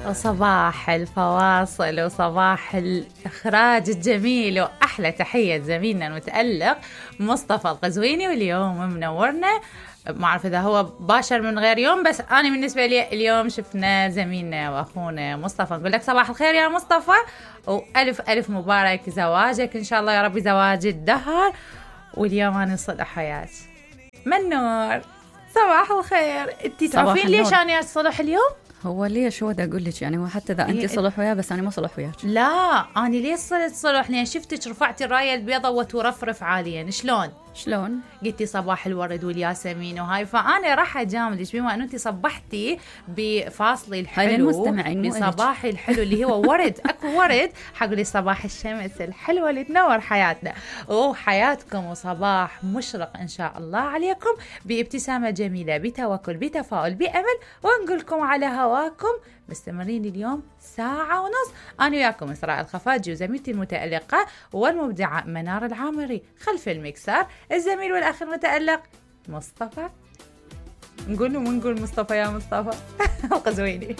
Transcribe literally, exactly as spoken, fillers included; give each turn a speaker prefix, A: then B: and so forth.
A: وصباح الفواصل وصباح الإخراج الجميل وأحلى تحية زميلنا المتألق مصطفى القزويني. واليوم منورنا، ما أعرف إذا هو باشر من غير يوم، بس أنا بالنسبة لي اليوم شفنا زميلنا وأخونا مصطفى. نقول لك صباح الخير يا مصطفى، وألف ألف مبارك زواجك إن شاء الله يا ربي، زواج الدهر. واليوم أنا صلح حياة منور. صباح الخير. انتي تعرفين ليش أنا صلح اليوم؟
B: هو ليش هو دا أقول لك يعني، هو حتى إذا أنت صلح وياه بس أنا ما صلح وياك.
A: لا أنا ليش صرت صلح؟ لأن شفتك رفعتي الراية البيضاء وترفرف عاليا. شلون؟
B: شلون؟
A: قلتي صباح الورد والياسمين وهاي، فأنا راح أجاملك بما أنه أنت صبحتي بفاصلي الحلو بصباحي الحلو اللي هو ورد. أكو ورد حقولي صباح الشمس الحلوة اللي تنور حياتنا وحياتكم، وصباح مشرق إن شاء الله عليكم بابتسامة جميلة، بتوكل، بتفاؤل، بأمل. ونقولكم على هواكم مستمرين اليوم ساعة ونص، أنا وياكم إسراء الخفاجي وزميلتي المتألقة والمبدعة منار العامري، خلف المكسر الزميل والأخ المتألق مصطفى. نقول ونقول مصطفى يا مصطفى القزويني.